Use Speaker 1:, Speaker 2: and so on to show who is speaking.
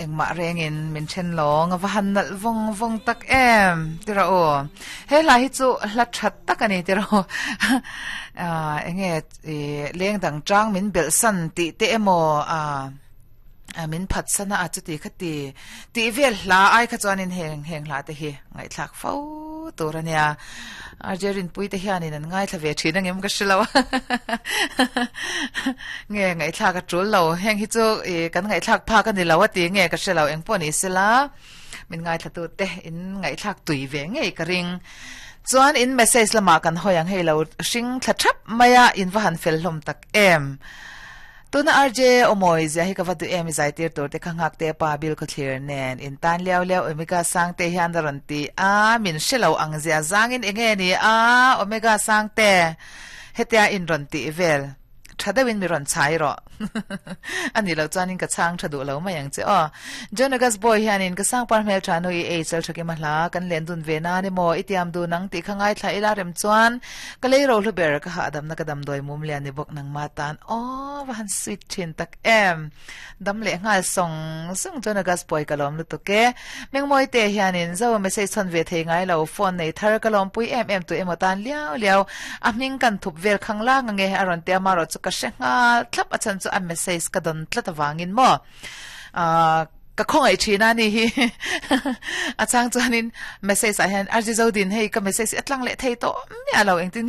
Speaker 1: Engmah rengin min then lawng a va han nalh vawng vawng tak em tira aw. He hla hi chu hla that tak ani tira aw. Ah enge i leng dang chang min belh san tih te emaw ah min phat sana a chuti kha ti tih vel hla ai kha chuanin heng heng hla te hi ngaihthlak fo tur ania. RJ Rinpui te hianin an ngaithla ve thin angem ka hre lo a nge ngaihthlak a tul lo heng hi chu ih kan ngaihthlak phak a ni lo a ti nge ka hre lo eng pawh ni sela min ngaithla tu te in ngaihthlak tui ve ngei ka ring chuan in message lamah kan hawi ang hei lo hring thla thap mai a in va han fel hlawm tak em. Tuna RJ Awmawi zia hi ka va duh em i zaitir tur te kha nghak te pa bil khawthlir nen in tan liau liau Omega Sangte hian a rawn ti a min hre lo ang zia zangin enge ni a Omega Sangte hetia in rawn tih vel tha deuhin mi rawn chhai rawh a nih loh chuanin ka chhang tha duh lo mai ang che aw John August Boy hianin ka sangpar hmel tha nu i ei chal thakim a hla kan len dun ve nan emaw i tiam dun ang tih kha ngaithla ila rem chuan Ka lei ro hlu ber ka hahdamna ka damdawi mum lian ni bawk nangma tan aw va han sweet thin tak em. Dam leh nghal sawng sawng chuan August pawi ka lawm lutuk e. Mengmawi te hianin zo message chhawn ve thei ngai lo phone nei thar ka lawmpui em em tu emaw tan liau liau a hming kan thup vel khang lang ange a rawn ti a marawh chu ka hre nghal thlap a chhan chu a message ka dawn tlat avangin maw. Ahh ka khawngaih thin a ni hi a chang chuanin message ah hian RG Zodin hei ka message hi a tlang leh thei tawh miah lo engtin.